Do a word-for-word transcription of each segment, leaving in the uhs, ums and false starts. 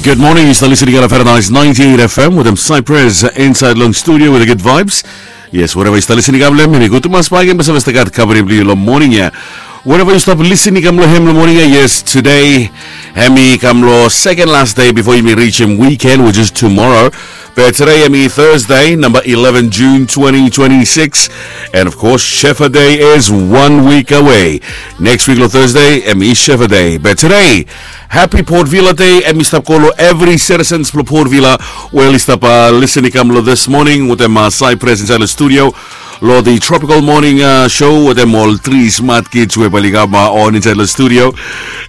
Good morning, yu stap listening long Paradise ninety-eight F M wetem Cypress inside long studio with the good vibes. Yes, wherever yu stap listening long, hemi gud tumas blo yu gat kaverim blo yu long morning ia. Wherever yu stap listening long hem long morning ia, yes, today hemi kam long second last day before yumi reach him weekend, which is tomorrow. Be today hemi Thursday, number eleven June twenty twenty-six. And of course, Shefa Day is one week away. Next week long Thursday hemi Shefa Day. Be today, happy Port Vila Day. Hemi stap go long evri citizens blo Port Vila we oli stap, uh, listening long this morning wetem, uh, Cypress inside long studio long the Tropical Morning, uh, Show wetem ol tri smart kids we bae oli kam, uh, on inside long studio.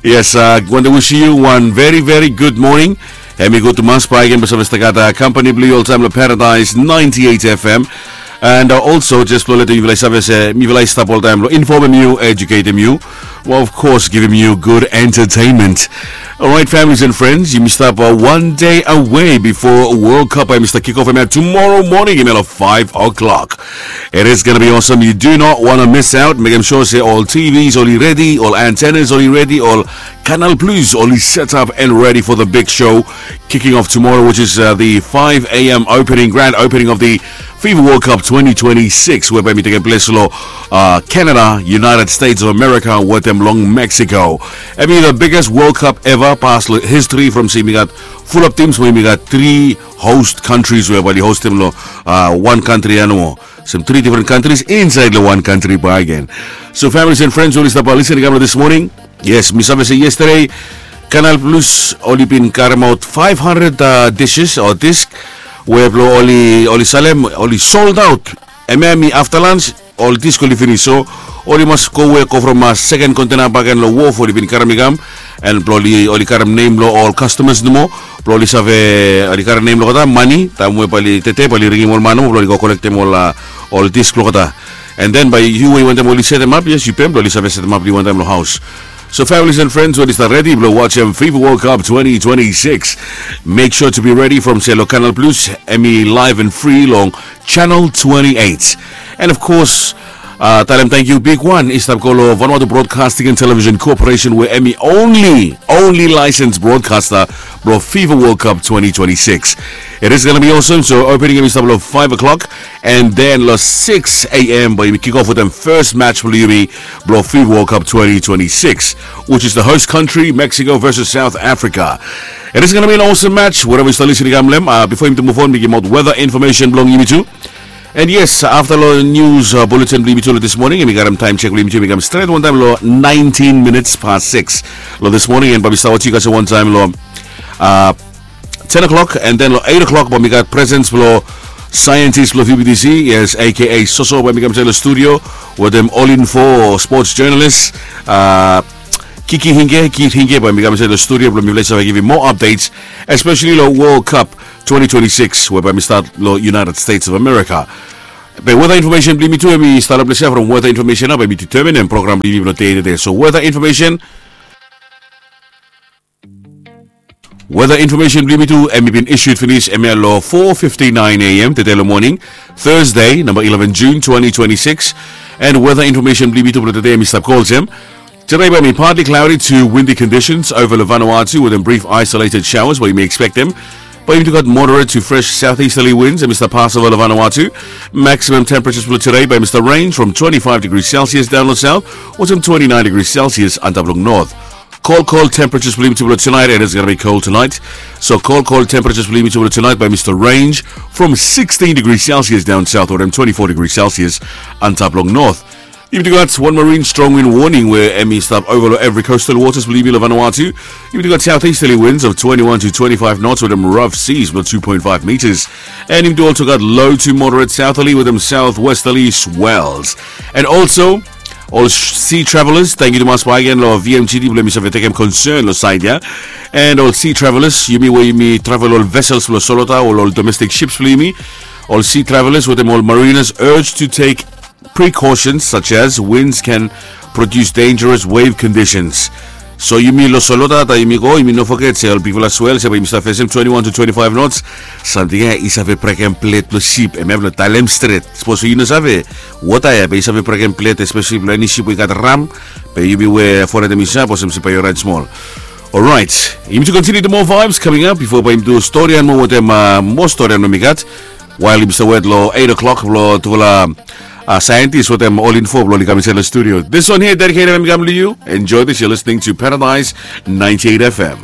Yes, uh, wantem wisim yu wan very, very good morning. Hemi gud tumas blo yu gat, uh, company blo yu oltaem long Paradise ninety-eight F M. And, uh, also, just blo letem yufala save se mifala i stap oltaem blo informem yu, educatem yu, well, of course, givim yu good entertainment. Alright, families and friends, yumi stap, uh, one day away before World Cup. Hemi stap kick off hemia tomorrow morning, hemia long five o'clock. It is gonna be awesome. You do not wanna miss out. Mekem sure se ol T Vs oli redi, ol antennas oli redi, ol Canal Plus oli set up and ready for the big show kicking off tomorrow, which is, uh, the five a.m. opening, grand opening of the FIFA World Cup twenty twenty-six, we bae hemi tekem ples long, uh, Canada, United States of America wetem long Mexico. Hemi the biggest World Cup ever pas long history from se yumi gat fulap teams we yumi gat tri host countries we bae oli hostem long, uh, wan kantri ia nomo. Olsem tri different countries inside long wan kantri bakegen. So families and friends we oli stap, uh, listening long this morning, yes, mi save se yesterday Canal Plus oli bin karemaot five hundred, uh, dishes o disk we blo oli, oli salem, oli sold out. Hemia hemi afta lunch, ol disk oli finis, so oli mas gowe go from, uh, second container bakegen long wharf oli bin karem i kam. And blo oli, oli karem nem blo ol customers nomo, blo oli save, oli karem nem blo olgeta, mane, taem we bae oli tete bae oli ringim ol man nomo blo oli go kolektem ol, uh, ol disk blo olgeta. And then bae yu we yu wantem oli setemap, yes, yu pem blo oli save setemap long yu wantaem long haos. So families and friends we oli stap redi blo wajem FIFA World Cup twenty twenty-six, make sure to be ready from se long Canal Plus, hemi live and free long channel twenty-eight. And of course, uh, talem tangkiu bigwan i stap go long Vanuatu Broadcasting and Television Corporation, we hemi only, only licensed broadcaster blo FIFA World Cup twenty twenty-six. It is gonna be awesome. So opening hemi stap long five o'clock, and then long six a.m. bae yumi kick off wetem first match blo yumi blo FIFA World Cup twenty twenty-six, which is the host country, Mexico versus South Africa. It is gonna be an awesome match. Wherever yu stap listening long hem, uh, bifo yumi tu move on, mi givim weather information blong yumi tu. And yes, afta long news, uh, bulletin blong yumi tu long this morning, hemi karem taem check blong yumi tu, hemi kam stret wantaem long nineteen minutes past six long this morning, and bae mi stap wetem yu guys wantaem long, uh, ten o'clock, and then long eight o'clock bae mi gat presence blong scientist blong V B T C, yes, A K A Soso, bae hemi kam insait long studio wetem All Info sports journalist, uh, Kiki Hinge, Keith Hinge, bae hemi kam insait long studio blong mifala i save givim moa updates, especially long World Cup twenty twenty-six we bae hemi stat long United States of America. Be weather information blong yumi tu hemi stap long ples ia. From weather information ia bae mi determine program blong yumi blong dei tede. So weather information, weather information blong yumi tu hemi bin issued finis hemia long four fifty-nine a.m. tede long morning, Thursday, number eleven June twenty twenty-six. And weather information blong yumi tu blong tede hemi stap go olsem. Today bae hemi partly cloudy to windy conditions over long Vanuatu wetem brief isolated showers we yumi ekspektem. Bae yumi tu gat moderate to fresh southeasterly winds hemi stap pas ova long Vanuatu. Maximum temperatures blong today bae hemi stap range from twenty-five degrees Celsius daon long south wetem twenty-nine degrees Celsius antap long north. Cold, cold temperatures blong yumi tu blong tonight, and it's gonna be cold tonight. So cold, cold temperatures blong yumi tu blong tonight bae hemi stap range from sixteen degrees Celsius daon south wetem twenty-four degrees Celsius antap long north. Yumi tu gat wan marine strong wind warning we hemi stap ova long evri coastal waters blong yumi long Vanuatu. Yumi tu gat southeasterly winds of twenty-one to twenty-five knots wetem rough seas blong two point five meters. And yumi tu also gat low to moderate southerly wetem southwesterly swells. And also, ol sea travelers, tangkiu tumas bakegen long V M G D blong hemi save tekem konsern long saed ia. And ol sea travelers, yumi we yumi travel ol vessels blong solota o ol domestic ships blong yumi, ol sea travelers wetem ol mariners urged to take precautions such as winds can produce dangerous wave conditions. So yumi long solota taem yumi go, yumi no foget se ol bigfala swells ia bae yumi save fesem twenty-one to twenty-five knots. Samting ia i save brekem bled blong sip, hemia blong talem stret. Sapos yu no save, wota ia bae i save brekem bled, especially blong eni sip we i gat ram. Be yumi we foretem i sap olsem se bae yu oraet smol. Orait, yumi tu kontiniu tu moa vibes coming up bifo bae yumi tu stori and moa wetem moa stori and moa mi gat. Wael yumi save wet long eight o'clock blong tufala saentis wetem ol info blong oli kam insaed long studio. This one here dedicated em i kam long yu. Enjoy this, you're listening to Paradise ninety-eight F M.